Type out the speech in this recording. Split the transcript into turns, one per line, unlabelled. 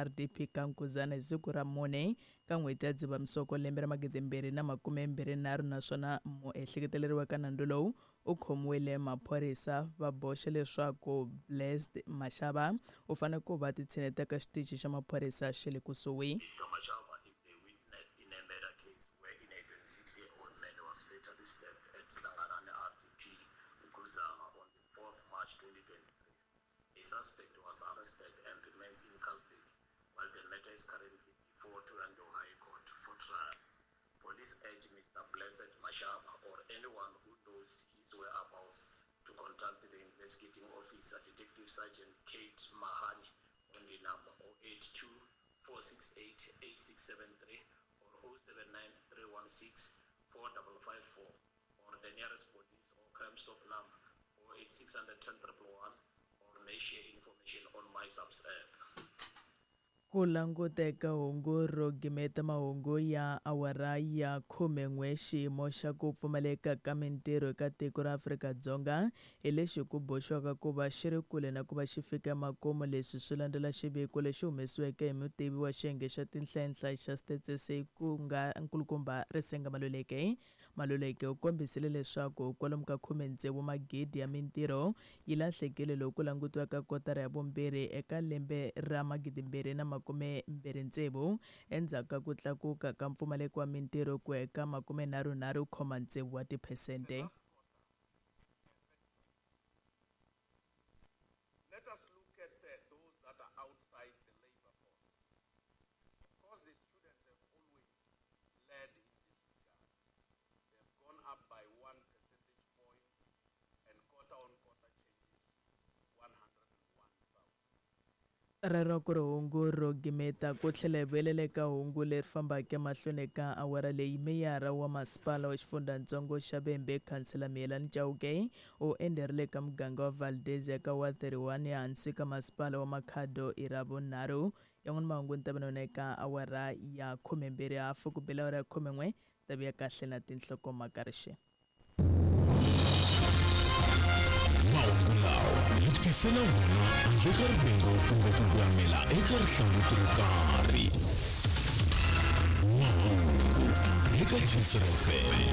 RDP ka Nkuzana hi siku ra 4 ka n'hweti ya Dzivamisoko lembe ra 2023, naswona muehleketeleriwa ka nandzu lowu u khomiwile. Maphorisa va boxe leswaku Blessed Mashaba u fanele ku va titshineta ka xitichi xa maphorisa xa le kusuhi.
Mr. Mashaba is a witness in a murder case wherein a 26-year-old man was fatally stabbed at Hlanganani RDP Nkuzana on the 4th March 2023. A suspect was arrested and remains in custody while the matter is currently before Thohoyandou High Court for trial. Police urge Mr. Blessed Mashaba or anyone who knows his whereabouts to contact the investigating officer, Detective Sergeant Kate Mahani, on the number 082 468 8673 or 079 316 4554, or the nearest police or Crime Stop number 08600 10 111, or may share information on MySAPS app.
Ku languteka hungu ro gimeta mahungu ya awara ya 11. Xiyimo xa ku pfumaleka ka mintirho eka tiko ra Afrika-Dzonga hi lexi ku boxiwaka ku va xi ri kule na ku va xi fika emakumu. Leswi swi landzela xiviko lexi humesiweke hi mutivi wa xiyenge xa tinhlayenhlayi xa Stats SA, ku nga nkulukumba Risenga Maluleke. Maluleke u kombisile leswaku kwalomu ka 16 magidi ya mintirho yi lahlekile loko ku langutiwa ka kotara ya vumbirhi eka lembe ra 2026, endzhaku ka ku tlakuka ka mpfumaleko wa mintirho ku ya eka 33,6 wa tiphesente.
Let us look at those that are outside the labor force. Of course, the students have always led in this regard. They've gone up by 1 percentage point, and quarter on quarter changes 101,000.
Rero ku ri hungu ro gimeta. Ku tlhela hi vuyelela eka hungu leri fambaka emahlweni ka awara leyi, meyara wa masipala wa xifundzatsongo xa Vhembe, khansela Miyelani Chauke, u enderile ka muganga wa Valdezia ka wa 31 ehansi ka masipala wa Makhado i Ravunharhu. Yan'wana mahungu ni ta va na eka awara ya 12:30 ku bela awara ya 11 ta vuya kahle na tinhlokomhaka rixe.
Mahungu lawa hi ku tisela wona handle ka rivengo kumbe ku gwamela eka rihlanguti ro karhi. Mahungu eka Gcis FM.